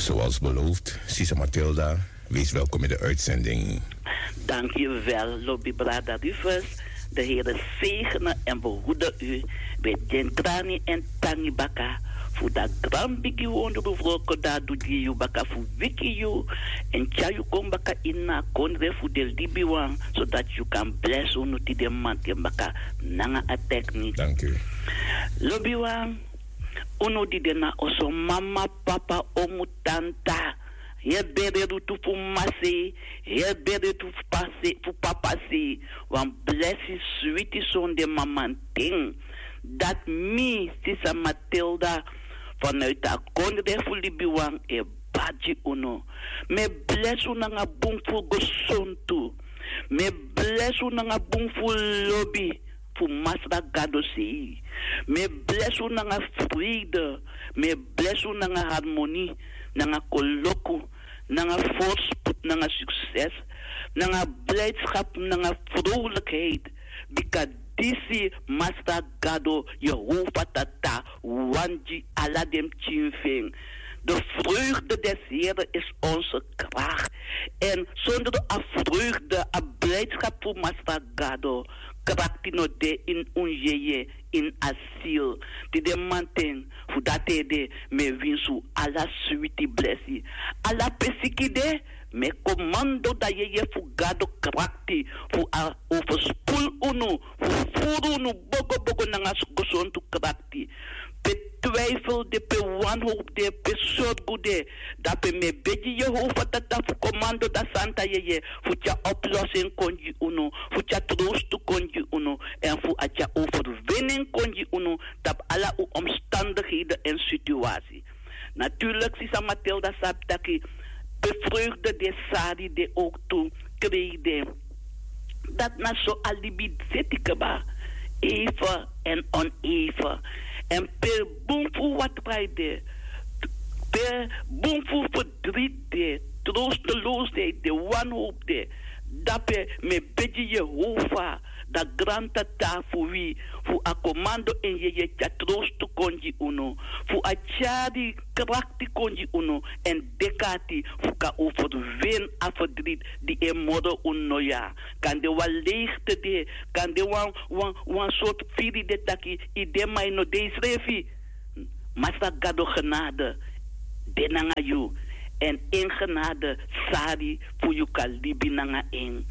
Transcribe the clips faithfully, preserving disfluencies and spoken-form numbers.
Zoals beloofd, Sisa Matilda, wees welkom in de uitzending. Dank u wel, Lobby Brada Rufus. De Heer zegene en behoede u. We den grani en tangi baka. Fu da gran bigi wondru wroko da du di yu baka fu wiki yu. En tya yu kon baka in na kondre fu de libi wan. Zodat yu kan bless unu tide manten baka nanga a techniek. Dank u. Lobi wan, unu di de na oso mama, papa, omu, tanta. Heri bere du tu fu mama sei, heri bere du fu papa sei, fu papa sei. Wan blesi switi sonde mamanten. Dat mi, Sisa Matilda, vanuit a kondre fu libi wan e bari gi unu. Mi e blesi unu nanga bun fu gesontu. Mi e blesi unu nanga bun fu lobi fu Masra Gado sei. Mi e blesi unu nanga freide. Mi e blesi unu nanga harmoni, nanga koloku, nanga voorspoed, nanga succes, nanga blijdschap, nanga vrolijkheid. Bika disi Masra Gado, Jehovah Tata, wani gi ala den pikin fu en. De vreugde des Heren is onze kracht. En zonder a vreugde, a blijdschap fu Masra Gado, krakti no de in un yeye, in a ziel. Tide manten, fu dati ede, mi e winsi un ala switi blesi. Ala pe siki de, mi e komando da yeye fu Gado krakti, fu a overspoel unu, fu furu unu bogo bogo nanga gesontu krakti. Pe twijfel de, pe wanhoop de, pe sorgu de, dape mi e begi Jehovah Tata fu komando da santa yeye, fu tyari oplossing kon gi unu, fu tyari troost kon gi unu, en fu a tyari overwinning kon gi unu, tapu ala un omstandigheden en situatie. Natuurlijk, Sisa Matilda sabi taki, pe vreugde de, sari de, ook tu, krei de. Dat na so a libi zit kaba. Even en oneven. En pe bun fu watra de, pe bun fu verdriet de, troosteloosheid de, wanhoop de, dape mi e begi Jehovah, da grantata fu wi, fu a komando en yeye tyari troost kon gi unu, fu a tyari krakti kon gi unu, en dek'ati fu kan overwin a verdriet di e moro unu noya. Kande wan leegte de, kande wan, wan, wan sortu firi de taki i de ma i no de i srefi. Masra Gado genade de nanga yu, en en genade sari fu yu kan libi nanga en.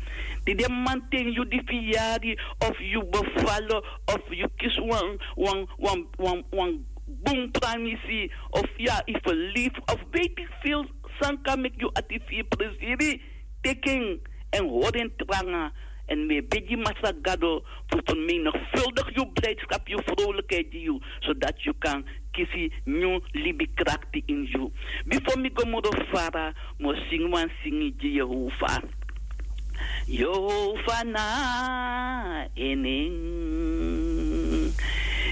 Tide manten yu di fiyari, of yu befalo, of yu kisi wan, wan, wan, wan, wan bun pranisi, of ya i verlief, of weet ik veel, san kan meki yu ati fu yu presiri, teki en, en hori en tranga, en mi e begi Masra Gado fu vermenigvuldig yu blijdschap, yu vrolijkheid gi yu, zodat yu kan kisi nyun libi krakti ini yu. Bifo mi go moro fara, mi o singi wan singi gi Jehovah. Jehovah na en nen.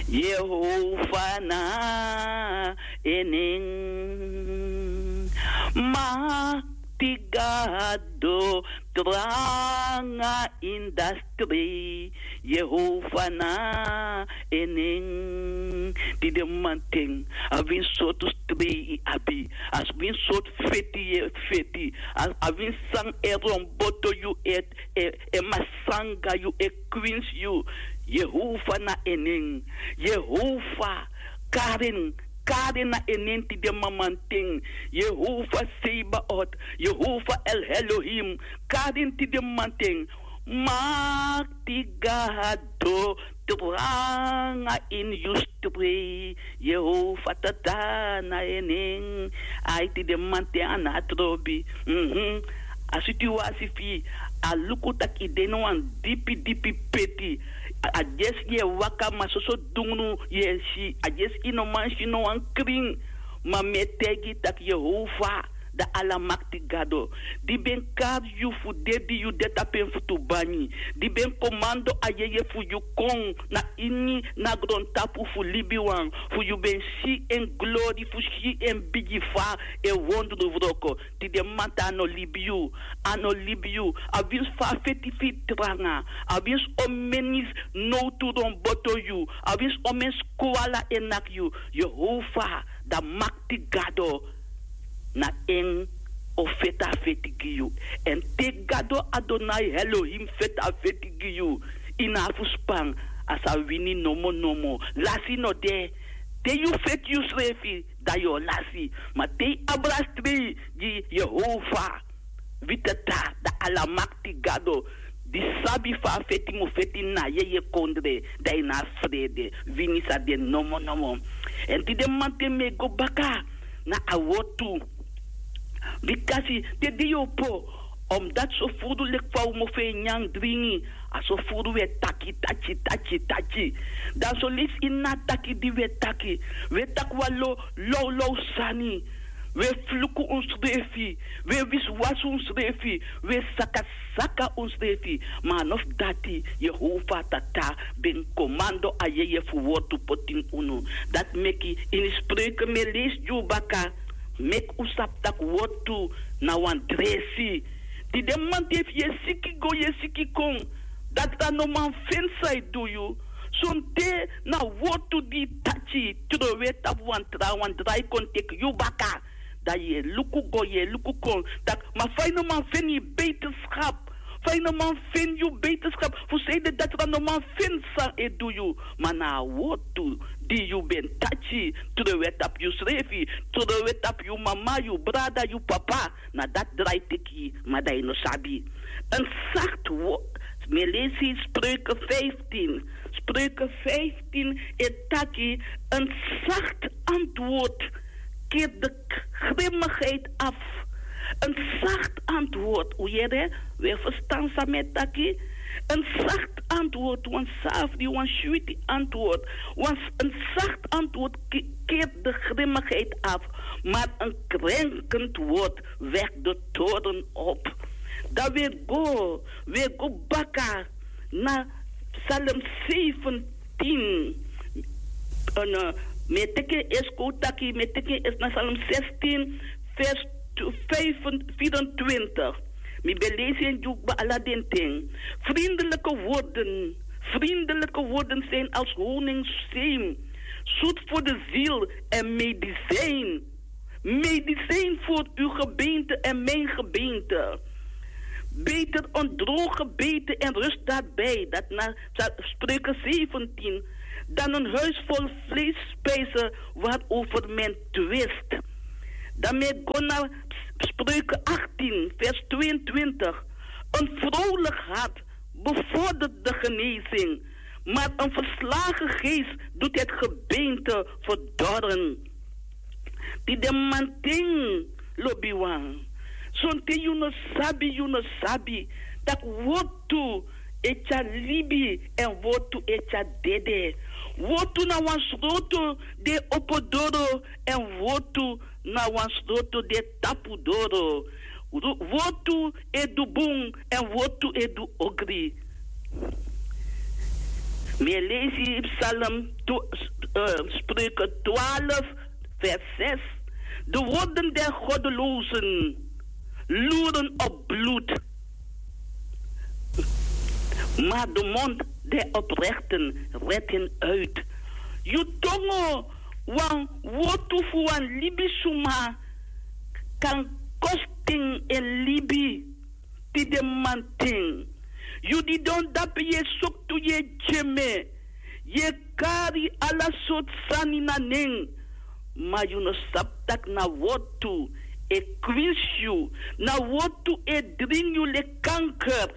Jehovah na en nen. Makti Gado, tranga ini a strei. Jehovah na en nen. Tide manten, a win sortu strei i abi, a win sortu feti yu e feti, a, a win san e romboto yu e, e, e masanga yu, e kwinsi yu. Jehovah na en nen. Jehovah, kari en, kari en na en nen tide mamanten. Jehovah Sebaot, Jehovah El Elohim, kari en tide mamanten. Makti Gado, tranga ini yu strei. Jehovah Tata na en nen. Ai, tide mamanten a no trobi. Mhm. A situasi fu yu, a luku taki i de ini wan dipi dipi peti. A, a dyesi yu e waka, ma soso dungunu yu e si. A dyesi i no man si no wan krin. Ma mi e taigi yu taki Jehovah, da Alamakti Gado, di ben kari yu fu de di yu de tapu en futu banyi, di ben komando a yeye fu yu kon na ini na grontapu fu libiwan, fu yu ben si en glori, fu si en bigi fa e wondru wroko. Tide mamanten a no libi yu, a no libi yu. A winsi fa a feti fu yu tranga, a winsi omeni nowtu romboto yu, a winsi omeni skwala e naki yu. Jehovah, da Makti Gado, na en o feti a feti gi yu. Èn te gado adonai elohim feti a feti gi yu, yu no abi fu span. A sa wini nomo nomo. Lasi no de. Te yu feti yusrefi, dan yu o lasi. Ma te yu abra strei gi yehova, wi tata, dan alamakti gado, di sabi fa a feti mu feti na yeye kondre, dan yu no abi frede. Wini sa de nomo nomo. Èn tide mamanten mi e go baka na a wortu. Bikasi te di yu opo, omdati so furu leki fa un mofo e nyan dringi, a so furu un e taki taki taki taki. Dan so leisi ini a taki di un e taki, un e taki wan lo lawlaw sani. Un e fluku unsrefi, un e wisiwasi unsrefi, un e sakasaka unsrefi. Ma a no fu dati, yehova tata ben komando a yeye fu wortu poti ini unu. Dati meki ini spreuke mi e leisi gi un baka, meki un sabi tak' wortu na wan dresi. Tide mamanten efu yu e siki go yu e siki kon, dati a no man feni san e du yu. Sonten na wortu di yu taki trowe tapu wan trawan drai kon teki yu baka. Dan yu e luku go yu e luku kon, tak' ma fa yu no man feni yu beterskap, fa yu no man feni yu beterskap, fu sanede datra no man feni san e du yu. Ma na a wortu di yu ben taki, trowe tapu yusrefi, trowe tapu yu mama, yu brada, yu papa, na dati drai teki yu, ma dan yu no sabi. En sakti wortu. Mi e lesi spreuke vijftien. Spreuke vijftien e taki: en zacht antwoord keert de grimmigheid af. En zacht antwoord, un yere, un e ferstan san mi e taki. En zacht antwoord, wan safri, wan switi antwoord, wan, en zacht antwoord ke- keert de grimmigheid af, maar een krenkend woord wekt de toorn op. Dan we go, we go baka na Psalm zeventien. En, eh, mi e teki en eerst kotaki, mi e teki en eerst na Psalm zestien, vers vierentwintig. Mi ben lesi en gi un kba ala den ten. Vriendelijke woorden, vriendelijke woorden zijn als honingszeem, zoet voor de ziel en medicijn. Medicijn voor uw gebeente en mijn gebeente. Beter een droog gebeten en rust daarbij. Dat na Spreuken zeventien. Dan een huis vol vleesspijzen waarover men twist. Dan mi e go na Spreuken achttien, vers tweeëntwintig. Een vrolijk hart bevordert de genezing, maar een verslagen geest doet het gebeente verdorren. Tide mamanten, lobiwan. Sonten yu no sabi, yu no sabi tak' wortu e tyari libi èn wortu e tyari dede. Wortu na wan sroto di e opo doro èn wortu na wan sroto di e tapu doro. Ru- wortu e du bun èn wortu e du ogri. Mi e lesi Psalm tw- eh, Spreuken twaalf, vers zes. De woorden der goddelozen loeren op bloed, maar de mond der oprechten redt hen uit. Yu tongo, wan wortu fu wan libisuma kan kosten en libi. Tide mamanten, yu didon dape, yu e soktu, yu e dyeme, yu e kari ala sortu sani na nen, ma yu no sabi tak' na wortu e kwinsi yu, na wortu e dringi yu leki kanker.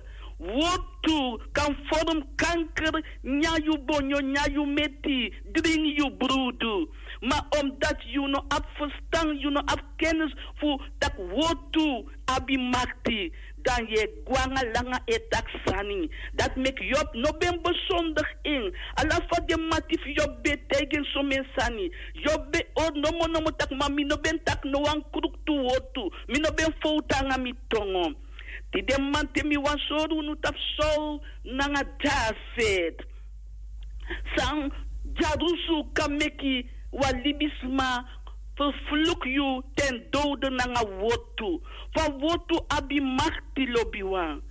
Wortu kan vorm kanker, nyan yu bonyo, nyan yu meti, dringi yu brudu. Ma omdat yu no abi ferstan, yu no abi kennis fu tak' wortu abi makti, dan yu e gwe nanga langa e taki sani. Dati meki Job no ben besondig en. Ala fa den mati fu Job ben e taigi en somen sani, Job ben e hori nomo nomo tak' ma mi no ben taki no wan kruktu wortu. Mi no ben fowtu nanga mi tongo. Tide mamanten mi wani sori unu tapu Saul nanga David. San dyarusu kan meki wan libisma ferfluku yu ten dowde nanga wortu. Fa wortu abi makti, lobiwan.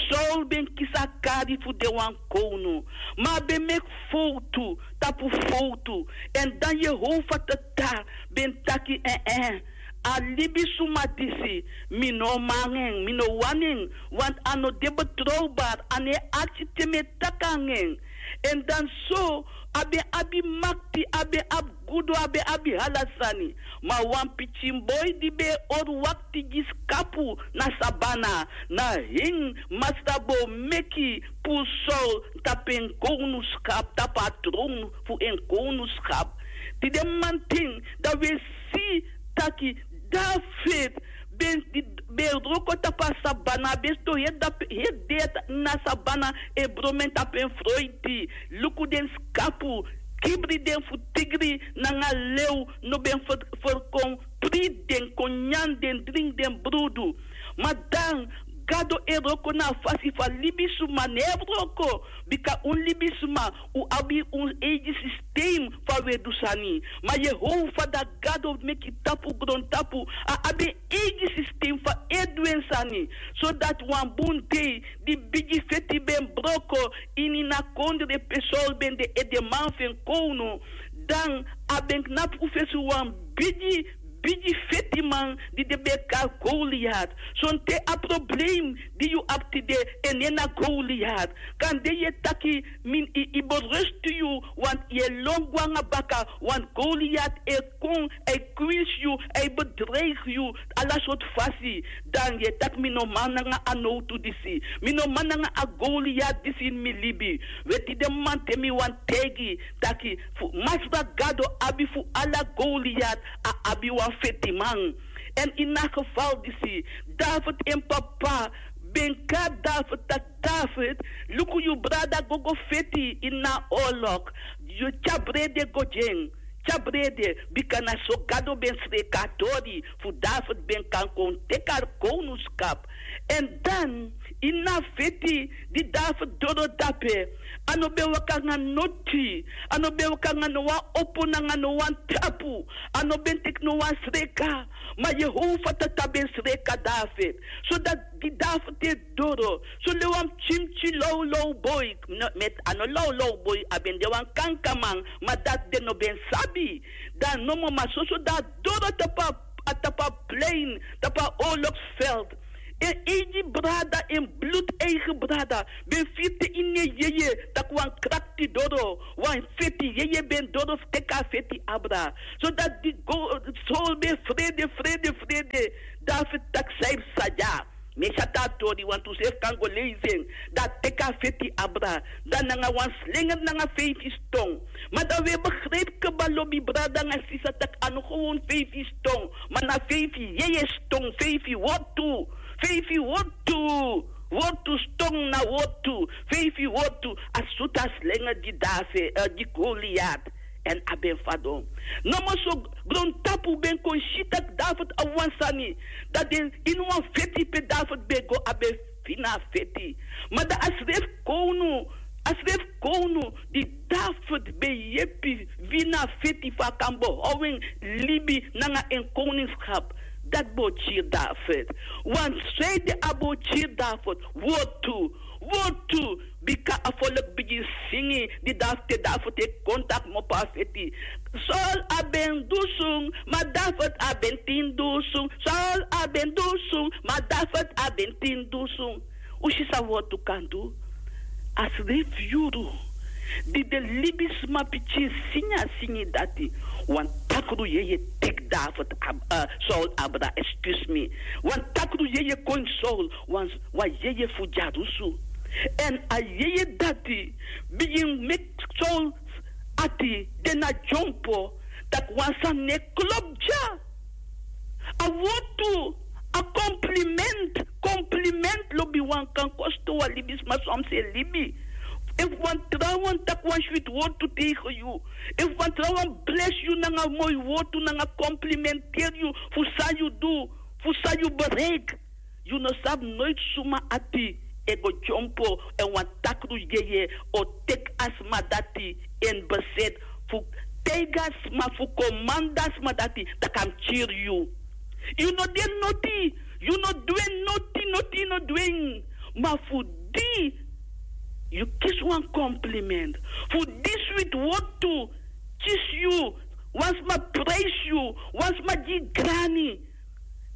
Saul ben kisi a kari fu de wan kownu, ma a ben meki fowtu tapu fowtu. Èn dan Yehova Tata ben taki: en en, A libisuma disi, mi no o man nanga en, mi no wani en. Want a no de betroubari, a no e arki te mi e taki nanga en. Èn dan so, a ben abi makti, a ben abi gudu, a ben abi ala sani. Ma wan pikin boi di ben e hori wakti gi skapu na sabana, na en masra bo meki puru Saul tapu en kownuskap, tapu a tron fu en kownuskap. Tide mamanten dan wi e si taki David ben, ben wroko tapu a sabana, ben sidon heri dei na sabana, e bromen tapu en froiti. Luku den skapu, kibri den fu tigri nanga lew no ben ferkon, priti den, kon nyan den, dringi den brudu. Ma dan Gado e wroko na a fasi fu a libisuma, no e wroko. Bika un libisuma, un abi un eigi systeem fa un e du sani. Ma Yehova dati Gado meki tapu grontapu, a abi en eigi systeem fa e du en sani. Sodati wan bun dei di bigi feti ben broko ini a kondre pe Saul ben de edeman fu en kownu, dan a ben knapu fesi wan bigi, bigi fetiman di den ben e kari Goliat. Sonten a problem di yu abi tide, en nen na Goliat. Kande yu e taki, mi, yu, yu berustu yu, want yu e lon gwe nanga baka, want Goliat e kon, a e kwinsi yu, a e bedreigi yu, ala sortu fasi. Dan yu e taki mi no man nanga a nowtu disi. Mi no man nanga a Goliat disi ini mi libi. We, tide mamanten mi wani taigi taki fu Masra Gado abi fu ala Goliat, a abi wan fetiman. Èn ini a geval disi, David en papa ben kari David taki, David, luku, yu brada go go feti ini a oorlog. Yu tyari brede go gi en. Tyari brede, bika na so Gado ben sreka a tori fu David ben kan kon teki a kownuskap. Èn dan, ini a feti di David doro dape, a no ben waka nanga noti, a no ben waka nanga no wan opo nanga no wan tapu, a no ben teki no wan sreka. Ma Yehova Tata ben sreka David. Sodati di David e doro, so le wan pikin pikin lawlaw boi, no, met a no lawlaw boi, a ben de wan kankaman, ma dati den no ben sabi. Dan nomo, ma soso dan a doro tapu a, a tapu a plein, tapu a oorlogsveld. En eigi brada, en bloedeige brada, ben firi te ini en yeye taki wan krakti doro, wan feti yeye ben doro fu teki a feti abra. Sodati di go, Saul ben frede, frede, frede. David taki san yu psa dya. Mi e si a tori, wantu srefi kan go leisi en. Dan a teki a feti abra. Dan nanga wan slenger nanga feifi ston. Ma dan wi e begrijpi kaba, lobi brada nanga sisa, taki a no gewoon feifi ston. Ma na feifi yeye ston, feifi wortu. Feifi wortu. Wortu, ston na wortu. Feifi wortu. A sutu a slenger gi David, eh, gi Goliat. Èn a ben fadon. Nomo so grontapu ben kon si taki David abi wan sani. Dan den ini wan feti pe David ben go, a ben fini a feti. Ma dan a srefi kownu, a srefi kownu di David ben yepi wini a feti fu a kan behow en libi nanga en koningskap. Dati bo kiri David. Want sanede a bo kiri David? Wortu. Wortu. Bika a folk bigin singi di David, te David e kon taki kmopo a feti. Saul a ben du sung, ma David a ben tin du sung. Saul a ben du sung, ma David a ben tin du sung. Un si san wortu kan du? A srefi yuru di den libisma pikin singi a singi dati. Wan takru yeye teki David ab-, eh, Saul abra, excuse me. Wan takru yeye kon Saul, wan, wan yeye fu dyarusu. Èn a yeye dati bigin meki Saul ati de na dyompo, taki wan sani no e klopu dya. A wortu, a compliment, compliment, lobiwan, kan kosto wan libisma soms en libi. Efu wan trawan taki wan switi wortu tegen yu, efu wan trawan blesi yu nanga moi wortu, nanga complimenteri yu fu san yu du, fu san yu bereik, yu no sabi noiti suma ati e go dyompo, èn wan takru yeye o teki a sma dati in bezit fu taigi a sma, fu komandi a sma dati taki a mus kiri yu. Yu no de noti, yu no du en noti, noti yu no du en. Ma fu di yu kisi wan compliment, fu di switi wortu kisi yu, wan sma prijsi yu, wan sma gi yu grani.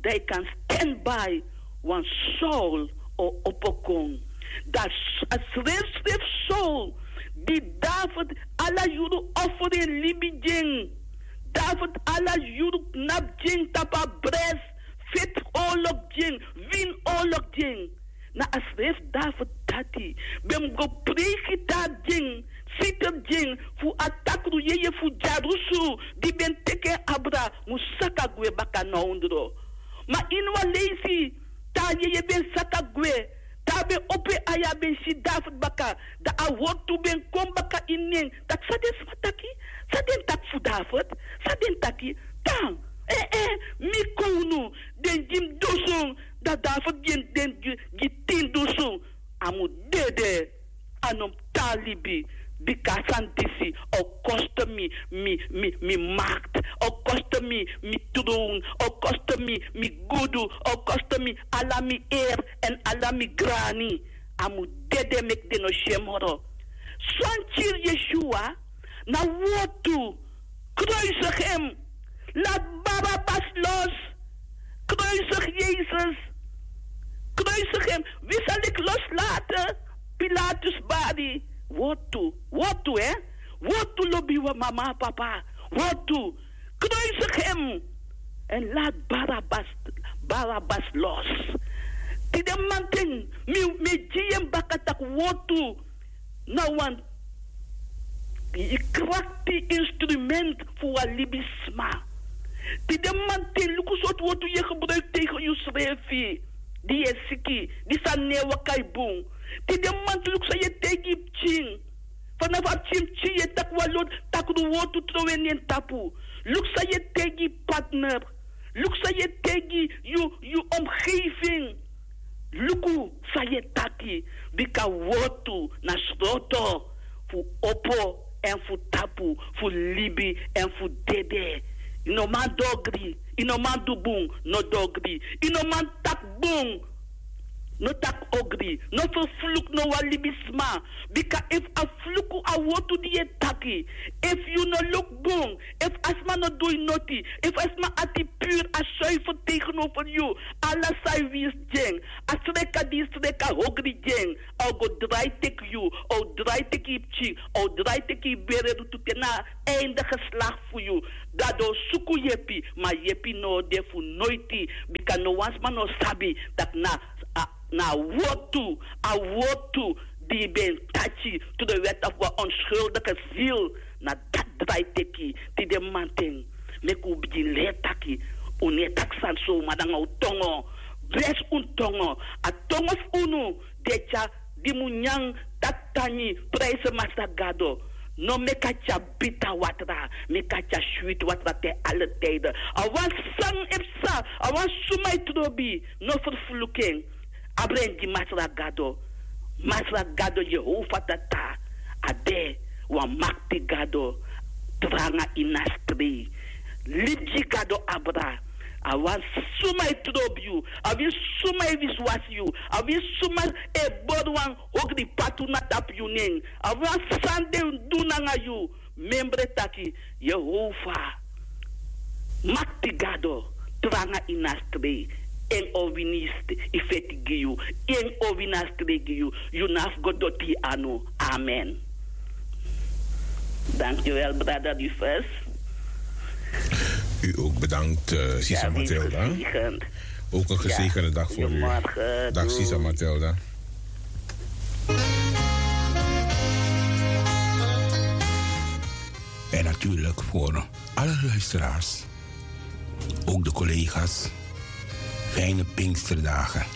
dan yu kan stand by wan Saul o opo kon. Dan a srefsrefi Saul di David ala yuru offer en libi gi en. David ala yuru knapu gi en tapu a bresi, feti oorlog gi en, wini oorlog gi en. Na a srefsrefi David dati ben mus go preiki te a gi en, siter gi en fu a takru yeye fu dyarusu di ben teki en abra mu saka gwe baka na ondro. Ma ini wan leisi te a yeye ben saka gwe, te a ben opo en ai, a ben si David baka, dan a wortu ben kon baka ini en taki: San den sma taki? San den taki fu David? San den taki? Tan, eh, eh, mi kownu, den gi mi dusun, dan David gi den gi, gi tin dusun. A mu dede, a no mu tan libi. Bika a sani disi o kosto mi, mi, mi, mi makti, o kosto mi, mi trown, o kosto mi, mi gudu, o kosto mi ala mi eri èn ala mi grani. A mu dede meki den no si en moro. San kiri Yeshua na wortu. Kruisig hem. Laat Barabbas los. Kruisig Jezus. Kruisig hem. Wi sa leki loslaten Pilatus bari. Wortu. Wortu, hè? Wortu, lobi wan mama, papa. Wortu. Kruisig hem. En laat Barabbas, Barabbas los. Tide mamanten mi, mi e gi yu en baka taki wortu na wan krakti instrument fu wan libisma. Tide mamanten luku sortu wortu yu e gebruiki tegen yusrefi, di yu e siki, di sani no e waka bun. Tide mamanten luku san yu e taigi yu pikin. Fanafu a pikin pikin yu e taki wan loti takru wortu trowe na en tapu. Luku san yu e taigi yu partner. Luku san yu e taigi yu, yu omgeving. Luku san yu e taki, bika wortu na sroto fu opo èn fu tapu, fu libi èn fu dede. Yu no man du ogri, yu no man du bun, no du ogri. Yu no man taki bun, no taki ogri. No ferfluku no wan libisma. Bika efu a fluku a wortu di yu e taki, efu yu no luku bun, efu a sma no du yu noti, efu a sma ati puru, a zuiver tegenover yu, ala san yu winsi gi en, a sreka di yu sreka ogri gi en, a o go drai teki yu, a o drai teki yu pikin, a o drai teki yu bere rutu te na a einde geslakti fu yu. Dati o suku yepi, ma yepi no o de fu noiti, bika no wan sma no sabi taki na a na a wortu, a wortu di ben taki to de wet of wan onschuldige ziel, na dati drai teki. Tide mamanten meki un bigin leri taki, un no e taki sani so, ma nanga un tongo. Blesi un tongo. A tongo fu unu di e tyari, di mu nyan, taki tangi, prijsi Masra Gado. No meki a tyari bita watra, meki a tyari switi watra te alle tijden. A wan san e psa, a wan suma e trobi, no ferfluku en. Abra en gi Masra Gado. Masra Gado, Yehova Tata, a de wan makti Gado. Tranga ini a strei. Libi gi Gado abra. A wan suma e trobi yu. A wi suma e wisiwasi yu. A wi suma e bori wan ogri patu na tapu yu nen. A wan san den du nanga yu. Memre taki Yehova, makti Gado, tranga ini a strei. En o wini yu st-, yu feti gi yu. En o wini a strei gi yu. Yu no abi go doti yu anu. Amen. Dankjewel, brother Rufus. U ook bedankt, eh, Sisa Matilda. Ook een gezegende dag voor u. Dag, Sisa Matilda. En natuurlijk voor alle luisteraars, ook de collega's, fijne Pinksterdagen.